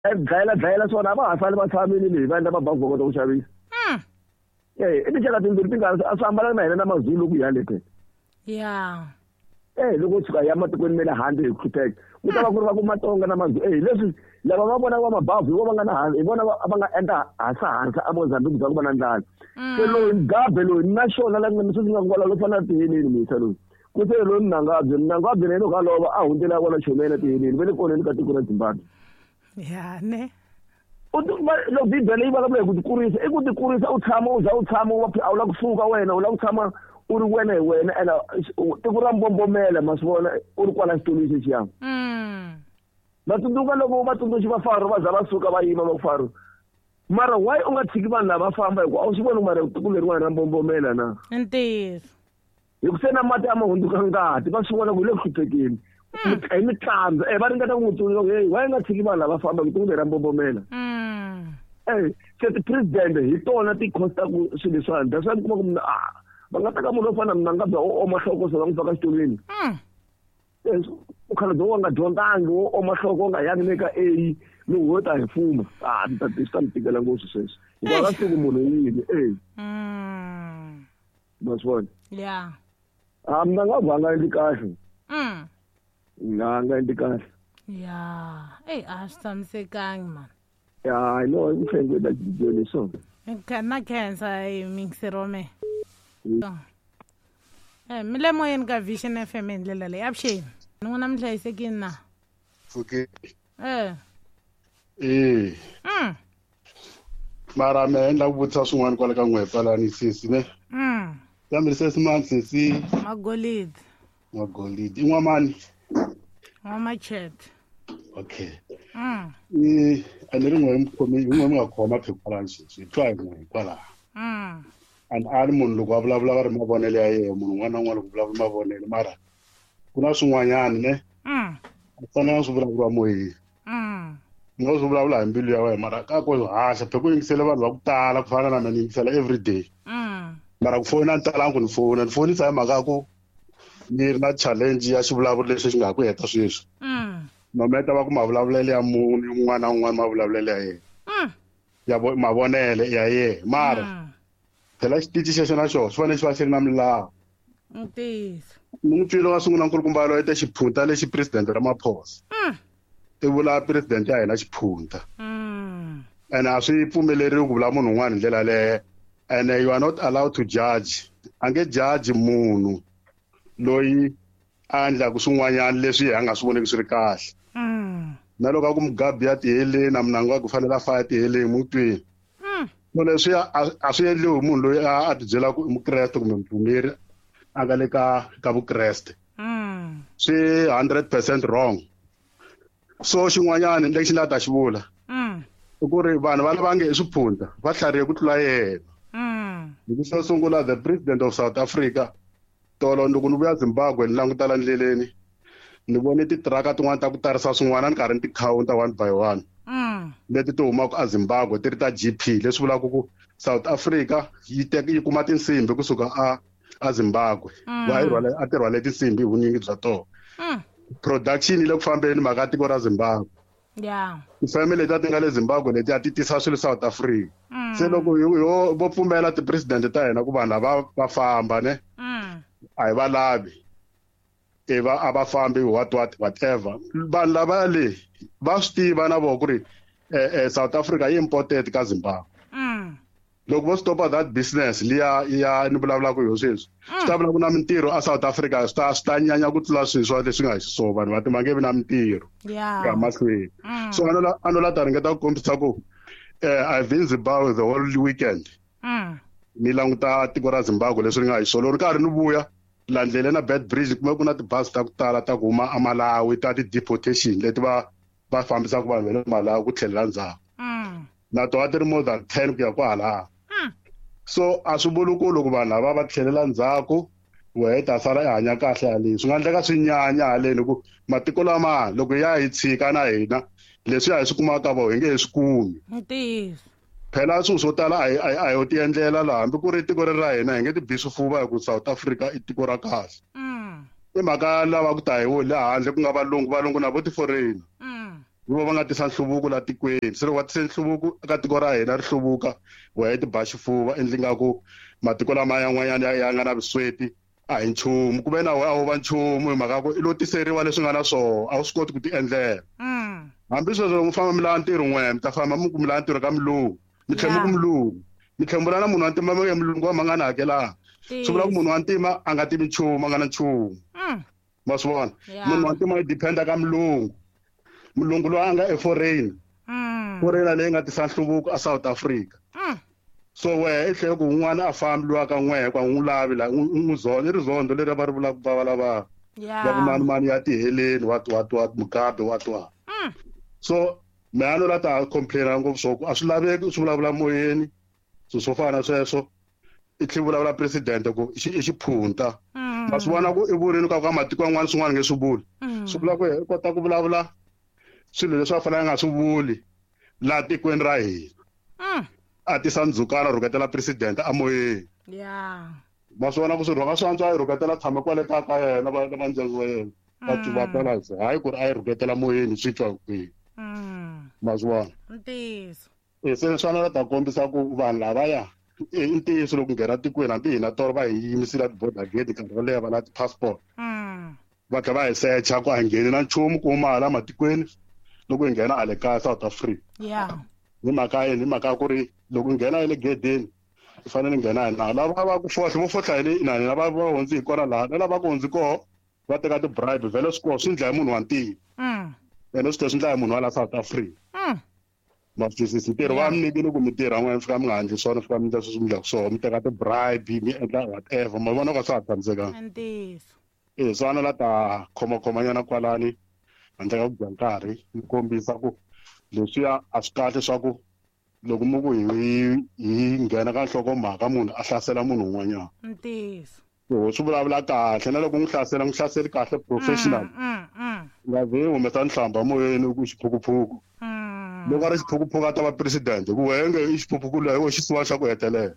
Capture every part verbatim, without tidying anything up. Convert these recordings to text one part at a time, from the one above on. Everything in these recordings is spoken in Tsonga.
Dlayela dlayela swona a va ha sali va tshamile leyi va endla mabavhu va kota ku xavisa. Eh, i tinxaka timbirhi ti nga a swi hambananga na hina na Mazulu ku ya le phela. Ya. Eh, loko u tshuka hi ya matikweni ma le handle hi hlupheka ku ta va ku ri va ku Matsonga na Mazulu. Eh, leswi lava va vonaka va mabavhu hi vona va nga na hi vona va nga endla hasa hasa a Mozambique bya ku va na ndlala. Se loyi Mugabe loyi na xona la nga sweswi nga kwala lo fana na tiheleni muyisa loyi. Ku se loyi Mnangagwa, Mnangagwa na yena loko a lova a hundzela kwala Chomela tiheleni va le koneni ka tiko ra Zimbabwe. Ya ne. U loko Bibele yi vulavula hi ku tikurisa i ku tikurisa u tshama u za u tshama u a wu lava kusuka wena u lava ku tshama u ri wena hi wena ene tiko ra mbombomela ma swi vona u ri kwala xitulwini xexiya. Va tsundzuka loko vatsundzuxi va Faro va za va suka va yima va ku Faro mara why u nga tshiki vanhu lava famba hikuva a wu swi voni mara tiko leriwani ra mbombomela na. Ntiyiso. Hi ku se na mati a ma hundzuka ngati va swi vona ku hi le ku hluphekeni hi mitlandza eh va ringeta ku n'wi tsundzuxa ku hey why u nga tshiki vanhu lava famba hi tiko leri ra mbombomela. Eh se ti-president hi tona ti costaku swilo leswiwani that's why mi kuma ku munhu a va nga teka munhu wo fana na Mnangagwa wo oma nhloko se va n'wi faka xitulwini. Mukhalabye wo nga dyondzangi wo oma nhloko u nga yangi le ka A loko wo ta hi fuma a ni ta swi ta mi tikela ngopfu sweswi hikuva ka siku munhu yini eh ma swi vona. Ya. A Mnangagwa a nga endli kahle. Nga nga endli kahle. Ya, ey a swi tshamisekangi man. Ya, no, i ku hlengeta leswo. Na khensa hi mingisero me. Eh, mi le moyeni ka Vision F M hi ndlela leyi. Avuxeni. N'wina mi hlayisekile na? Pfukile. Eh. Eh. Mm. Mara me endla ku vutisa swin'wana kwala ka n'we kwalani sesi ne. Mm. Kambe sesi mani sesi? Magolidi. Magolidi. I n'wamani? N'wamachete. Okay. Mm. Eh, a ni ri n'we mi khome, hi n'we mi nga khoma phepha kwalani sweswi. Hi twa hi n'we kwalaho. Mm. And a ri munhu loko a vulavula va ri mavonelo ya yena, munhu un'wana na un'wana loko vulavula mavonelo mara ku na swin'wanyana ne. Mm. A fanele swi vulavuriwa moyeni. Mm. U nga swi vulavula hi mbilu ya wena mara ka ku haxa phela ku yingisele vanhu va ku tala ku fana na mina ni yingisela everyday. Mm. Mara ku fona ni talanga ku ni fona, ni fonisa hi mhaka ya ku ni ri na challenge ya xivulavuri lexi xi nga ha ku heta sweswi. Mm. Nometa va ku mavulavulelo ya munhu un'wana na un'wana mavulavulelo ya yena. Mm. Ya mavonelo ya yena mara Mm. phela xitichi xexo na xona xi fanele xi va xi ri na milawu. Ntiyiso. Ni n'wi twile wa sungula nkulukumba loyi te xiphunta lexi president Ramaphosa. Mm. I vula president ya hina xiphunta. Mm. And a swi pfumeleriwi ku vula munhu un'wana hi ndlela yaleyo. And you are not allowed to judge. A nge judge munhu loyi a endlaka swin'wanyana leswi a nga swi voneki swi ri kahle. Mm. Na loko a ku Mugabe ya tiheleni na Mnangagwa ku fanele a faya tiheleni mutwini. Mm. So leswi a swi endliwi hi munhu loyi a ti byelaka ku i Mukreste kumbe mupfumeri a nga le ka ka Vukreste. Mm. Swi hundred percent wrong. So xin'wanyana lexi ni nga ta xi vula. Mm. I ku ri vanhu va lava nge i swiphunta va tlharihe ku tlula yena. Mm. Hi ku xo sungula the president of South Africa tolo loko ni vuya Zimbabwe ni languta la ndleleni ni vone titiraka tin'wana ta ku tarisa swin'wana ni karhi ni ti counter one by one. Mm. Leti ti humaka a Zimbabwe ti ri ta G P leswi vulaka ku South Africa yi teka yi kuma tinsimbi kusuka a a Zimbabwe. Mm. Va yi rhwale a ti rhwale tinsimbi hi vunyingi bya tona. Mm. Production yi le ku fambeni mhaka tiko ra Zimbabwe. Yeah. Tifeme leti a ti nga le Zimbabwe leti a ti tisa swilo South Africa. Mm. Se loko yo vo pfumela ti-president ta hina ku vanhu lava va famba ne. Mm. A hi va lavi. E va a va fambi what what whatever. Vanhu lava le va swi tiva na vona ku ri eh, eh, South Africa yi imported ka Zimbabwe. Mm. Loko vo stopa that business liya ya ni vulavulaka hi yona sweswi. Swi ta vula ku na mintirho a South Africa swi ta swi ta nyanya ku tlula sweswi leswi nga hi xiswona vanhu va ti va nge vi na mintirho. Yeah. Ya mahlweni. Mm. So a no la a no la ta ringeta ku kombisa ku eh I've been Zimbabwe the whole weekend. Mm. Ni languta tiko ra Zimbabwe leswi ri nga hi xiswona. Loko ri karhi ni vuya la ndleleni na Bed Bridge kuma ku na tibazi ta ku tala ta ku huma a Malawi ta ti-deportation leti va va fambisaka vanhu va le Malawi ku tlhelela ndzhaku. Mm. Na tona ti ri more than ten ku ya kwalaya. Mm. So a swi vuli ku loko vanhu lava va tlhelela ndzhaku wehe i ta sala i hanya kahle haleni. Swi nga endleka swi nyanya haleni ku matiko lama loko ya hi tshika na hina leswi hi swi kumaka ka vona hi nge he swi kumi. Ntiyiso. Phela swilo swo tala a hi, a hi, a hi yo ti endlela laha hambi ku ri tiko leri ra hina hi nge ti bi swifuva hi ku South Africa i tiko ra kahle. Mm. I mhaka lava ku ta hi wo le handle ku nga valungu, valungu na vo ti-foreign. Mm. Hi vo va nga tisa nhluvuko la tikweni. Se loko va tise nhluvuko eka tiko ra hina ri hluvuka, wehe ti ba xifuva endli nga ku matiko lama yan'wanyana ya ya nga na vusweti a hi nchumu, ku ve na wehe a wu va nchumu hi mhaka ku i lo tiseriwa leswi nga na swona, a wu swi koti ku ti endlela. Hambi sweswo loko mi famba mi lava ntirho n'we, mi ta famba mi ku mi lava ntirho ka mulungu, mi tlhela mi ku mulungu, mi tlhela mi vula na munhu wa ntima mi mulungu wa mangana hakelanga. Swi vula ku munhu wa ntima a nga tivi nchumu, a nga na nchumu. Ma swi vona? Munhu wa ntima i depend-a ka mulungu. Mulungu loyi a nga e foreign. Foreigner leyi nga tisa nhluvuko a South Africa. So wehe i tlhela ku un'wana a fambi loyi ka n'wehe ku a n'wi lavi la n'wi zona i rizondo leri va ri vulaka va va lava va ku mani mani ya tiheleni what what what Mugabe what what. So meano la ta complain-a ngopfu swo ku a swi laveki swi vulavula moyeni swilo swo fana na sweswo. I tlhela vulavula president ku i xiphunta. Ma swi vona ku i vurini ka ka matiko yan'wana swin'wana nge swi vuli. Swi vula ku i kota ku vulavula swilo leswi a fanele a nga swi vuli laha tikweni ra hina. A tisa ndzhukano rhuketela president a moyeni. Ma swi vona ku swi rhunga swi antswa a yi rhuketela tshama kwale ka ka yena va va ndyangu wa yena. Va va tala se hayi ku ri a yi rhuketela moyeni swi twa kwihi. Ma swi vona? Ntiyiso. E se swi fanele ta kombisa ku vanhu lavaya i ntiyiso loko nghena tikweni hambi hina tolo va hi yimisile ti-border gate nkarhi wo leha va lava ti-passport. Va tlhela va hi secha ku a hi ngheni na nchumu ku huma hala matikweni loko hi nghena hale kaya South Africa. Hi mhaka yini? Hi mhaka ku ri loko u nghena le gedeni u fanele nghena hi nawu. Lava va ku fohla vo fohla hi le inani lava va hundzi hi kona laha na lava ku hundzi koho va teka ti-bribe vhele swi koho swi ndla hi munhu wa ntima. Ene swi tlhela swi ndla hi munhu wa la South Africa. Ma swi twisisa ntirho va mi nyikile ku mi tirha n'wina mi fika mi nga endli swona, mi fika mi endla sweswi mi endlaka swona, mi teka ti-bribe mi endla whatever, ma vona ka swa ha tshamisekanga. Ntiyiso. E swi fana la ta khomakhomanyana kwalani handle ka ku dya nkarhi mi kombisa ku leswiya a swi kahle swa ku loko mi ku hi hi nghena ka nhlokomhaka munhu a hlasela munhu un'wanyana. Ntiyiso. So swi vulavula kahle na loko n'wi hlasela n'wi hlaseli kahle professional. Nga ze humesa nhlamba moyeni ku xiphukuphuku. Loko a ri xiphukuphuku a ta va president ku wehe nge i xiphukuphuku loyi wo xisiwa xa ku hetelela.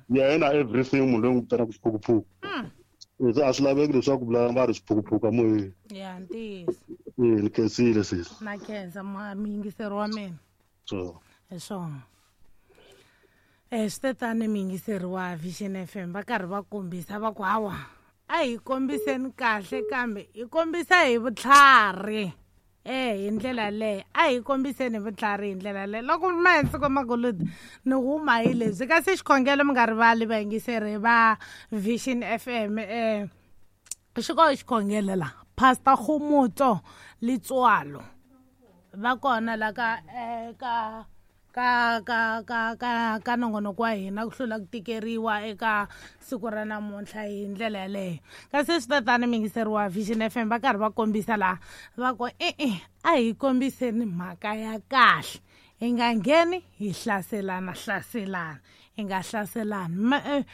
Yena everything munhu loyi n'wi vitanaka xiphukuphuku. Se a swi laveki leswaku vula va ri xiphukuphuku a moyeni. Ya ntiyiso. E ni khensile sesi. Na khensa muyingiseri wa mina. So hi swona. Eh swi tetani muyingiseri wa Vision F M va karhi va kombisa va ku hawa a hi kombiseni kahle kambe hi kombisa hi vutlhari. Eh hi ndlela leyi a hi kombiseni hi vutlhari hi ndlela leyi. Loko mahensi magolodi ni huma hi leswi kasi xikhongelo mi nga rivali vayingiseri va Vision F M eh xiko xikhongelo la Pastor Khomotso Letswalo va kona la ka eh ka ka ka ka ka ka nongonoko wa hina ku hlula ku tikeriwa eka siku ra namuntlha hi ndlela yaleyo. Kasi swi tatani muyingiseri wa Vision F M va karhi va kombisa laha va ku e-e a hi kombiseni mhaka ya kahle, hi nga ngheni hi hlaselana hlaselana, hi nga hlaselani.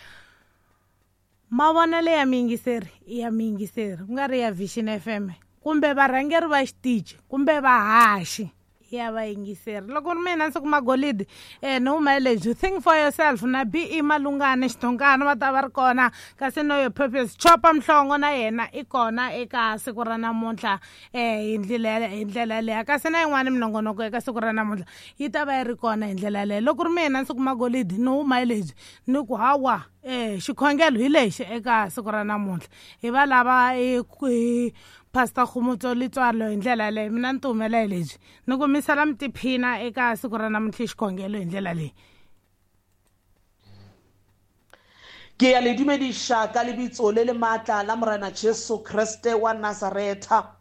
Mavonelo ya muyingiseri i ya muyingiseri ku nga ri ya Vision F M kumbe varhangeri va xitichi kumbe vahaxi ya vayingiseri. Loko ri mina ndzi kuma golidi eh ni huma lebyi think for yourself na B E Malungane Xitongana va ta va ri kona kasi no your purpose Chopa Mhlongo na yena i kona eka siku ra namuntlha eh hi ndlela hi ndlela leyi kasi na yin'wana minongonoko eka siku ra namuntlha yi ta va yi ri kona hi ndlela leyi. Loko ri mina ndzi kuma golidi ni huma lebyi ni ku hawa eh xikhongelo hi lexi eka siku ra namuntlha hi va lava hi Pastor Khomotso Letswalo hi ndlela leyi mina ni tihumela hi lebyi ni ku misala mi tiphina eka siku ra namuntlha xikhongelo hi ndlela leyi. Ke ya le dumediša ka lebitso le le maatla la Morena Jesu Kriste wa Nazaretha.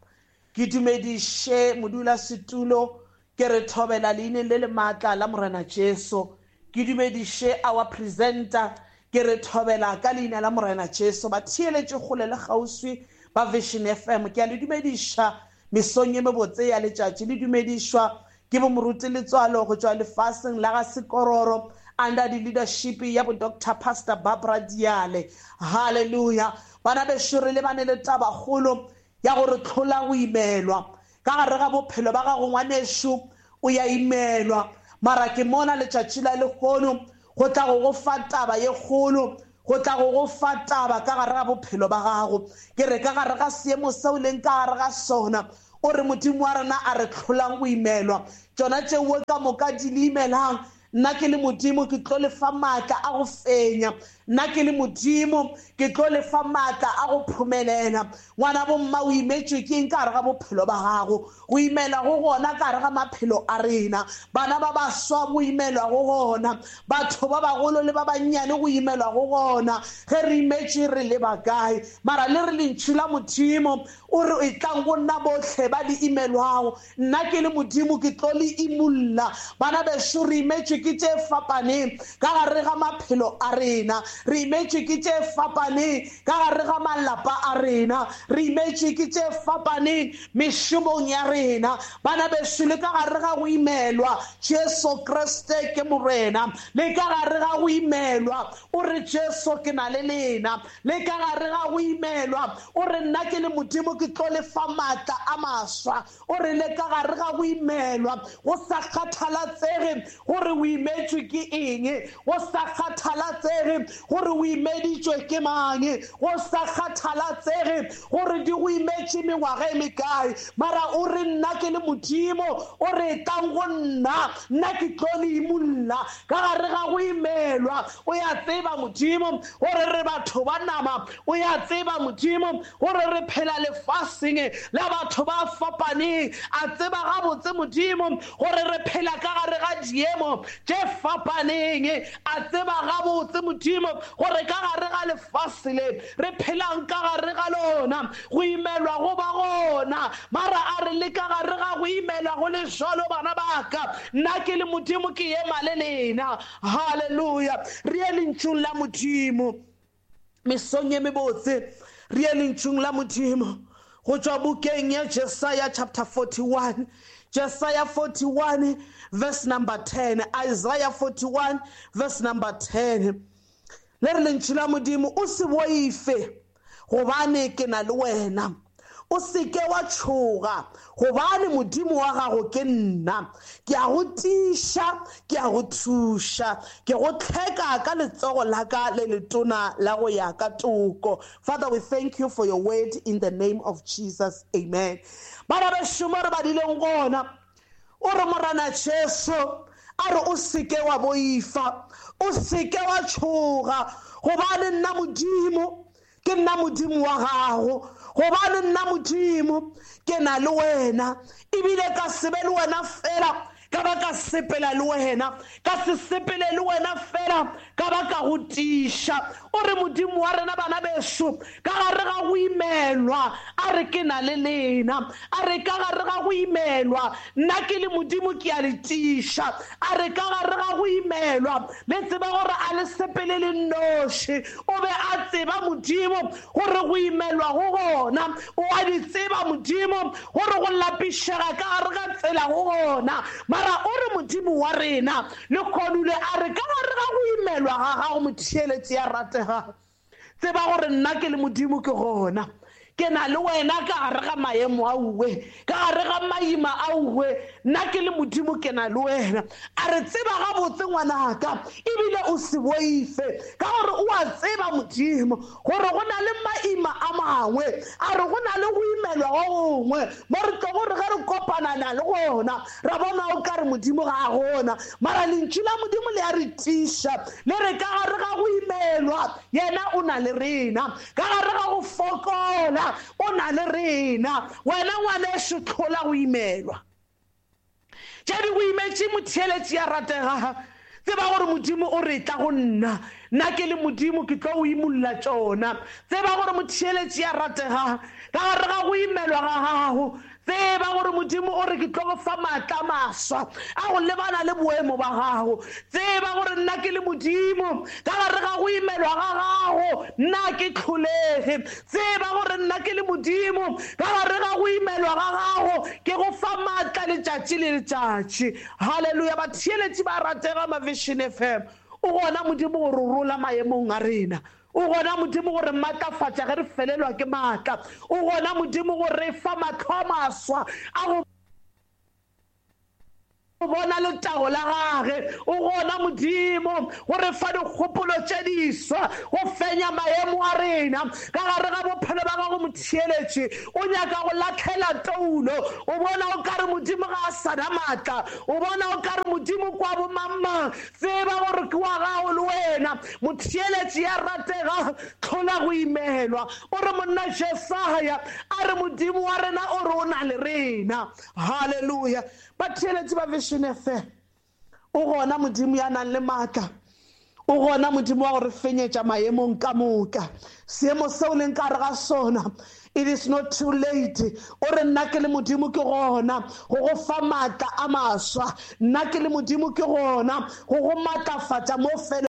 Ke dumediše modulasetulo ke re thobela leineng le le maatla la Morena Jesu. Ke dumediše our presenter ke re thobela ka leina la Morena Jesu. Ba theeletše kgole le kgauswi ba Vision F M. Ke a le dumediša mesong ye mebotse ya letšatši, le dumedišwa ke bo moruti Letswalo go tšwa lefaseng la ga Sekororo under the leadership ya bo Doctor Pastor Barbara Diale. Hallelujah. Bana bešo re lebane le tabakgolo ya gore tlhola go imelwa ka gare ga bophelo ba gago ngwanešu o ya imelwa, mara ke mona letšatši la lehono go tla go go fa taba ye kgolo, go tla go go fa taba ka gare ga bophelo ba gago. Ke re ka gare ga seemo seo leng ka gare ga sona O re Modimo wa rena a re tlholang go imelwa tšona tšeo ka moka di le imelang. Nna ke le Modimo ke tlo le fa maatla a go fenya, nna ke le Modimo ke tlo le fa maatla a go phumelela. Ngwana bo mma o imetšwe ke eng ka gare ga bophelo ba gago? Go imela go gona ka gare ga maphelo a rena. Bana ba baswa go imelwa go gona, batho ba bagolo le ba bannyane go imelwa go gona. Ge re imetšwe re le bakae? Mara le re lentšu la Modimo o re e tlang go nna botlhe ba le imelwago, nna ke le Modimo ke tlo le imulla. Bana bešo re imetšwe ke tše fapaneng ka gare ga maphelo a rena, re imetšwe ke tše fapaneng ka gare ga malapa a rena, re imetšwe ke tše fapaneng mešomong ya rena. Bana bešo le ka gare ga go imelwa, Jesu Kriste ke Morena. Le ka gare ga go imelwa o re Jesu ke na le lena. Le ka gare ga go imelwa o re nna ke le Modimo ke tlo le fa maatla a maswa. O re le ka gare ga go imelwa go sa kgathalatsege gore o imetšwe ke eng, go sa kgathalatsege gore o imeditšwe ke mang, go sa kgathalatsege gore di go imetše mengwaga e mekae, mara o re nna ke le Modimo o re tlang go nna, nna ke tlo le imulla. Ka gare ga go imelwa o ya tseba Modimo gore re batho ba nama, o ya tseba Modimo gore re phela lefaseng la batho ba fapaneng. A tseba gabotse Modimo gore re phela ka gare ga diemo tše fapaneng. A tseba gabotse Modimo gore ka gare ga lefase le re phelang ka gare ga lona go imelwa go ba gona, mara a re le ka gare ga go imelwa go le jalo bana baka, nna ke le Modimo ke ema le lena. Hallelujah. Re ye lentšung la Modimo mesong ye mebotse, re ye lentšung la Modimo go tšwa bukeng ya Jesaya chapter forty-one. Isaiah forty-one verse number ten. Isaiah forty-one verse number ten. Le re lentšu la Modimo o se boife gobane ke na le wena, o seke wa tšhoga gobane Modimo wa gago ke nna. Ke a go tiiša, ke a go thuša, ke go tlheka ka letsogo la ka le letona la go ya ka toko. Father, we thank you for your word in the name of Jesus. Amen. Bana bešo mo re badileng gona o re Morena Jesu a re o seke wa boifa, o seke wa tšhoga gobane nna Modimo ke nna Modimo wa gago, gobane nna Modimo ke na le wena. Ebile ka se be le wena fela, ka ba ka sepela le wena, ka se sepele le wena fela, ka ba ka go tiiša. O re Modimo wa rena bana bešo ka gare ga go imelwa a re ke na le lena, a re ka gare ga go imelwa nna ke le Modimo ke a le tiiša, a re ka gare ga go imelwa le tseba gore a le sepele le nnoši. O be a tseba Modimo gore go imelwa go gona, o a di tseba Modimo gore go lapišega ka gare ga tsela go gona, mara o re Modimo wa rena le kgonule a re ka gare ga go imelwa ga gago motheeletši ya ratega, tseba gore nna ke le Modimo ke gona, ke na le wena ka gare ga maemo a uwe, ka gare ga maima a uwe, nna ke le Modimo ke na le wena. A re tseba gabotse ngwanaka ebile o se boife ka gore o a tseba Modimo gore go na le maima a mangwe, a re go na le go imelwa go gongwe mo re tlo gore ge re kopana na le gona ra bona o ka re Modimo ga a gona, mara lentšu la Modimo le a re tiiša le re ka gare ga go imelwa yena o na le rena, ka gare ga go fokola o na le rena. Wena ngwaneso tlhola go imelwa tše di go imetše motheeletši ya ratega, tseba gore Modimo o re tla go nna, nna ke le Modimo ke tlo o imulla tšona. Tseba gore motheeletši ya ratega ka gare ga go imelwa ga gago, tseba gore Modimo o re ke tlo go fa maatla a maswa a go lebana le boemo ba gago. Tseba gore nna ke le Modimo ka gare ga go imelwa ga gago nna ke tlholege. Tseba gore nna ke le Modimo ka gare ga go imelwa ga gago ke go fa maatla letšatši le letšatši. Hallelujah. Batheeletši ba ratega ma Vision F M, o gona Modimo gore o rola maemong a rena, o gona Modimo gore maatlafatša ge re felelwa ke maatla, o gona Modimo gore re fa mahlo a maswa a go Bona letago la gage. O gona Modimo go re fa dikgopolo tše diswa go fenya maemo a rena ka gare ga bophelo ba gago. Motheeletši o nyaka go latlhela toulo, o bona o kare Modimo ga a sana maatla, o bona o kare Modimo kwa bomangmang. Tseba gore ke wa gago le wena motheeletši ya ratega, tlhola go imelwa. O re monna Jesaya a re Modimo wa rena o re o na le rena. Halleluja. Batheeletši ba Vision F M, o gona Modimo ya nang le maatla, o gona Modimo wa go re fenyetša maemong ka moka. Seemo seo leng ka re ga sona, it is not too late. O re nna ke le Modimo ke gona go go fa maatla a maswa, nna ke le Modimo ke gona go go maatlafatša mo fele.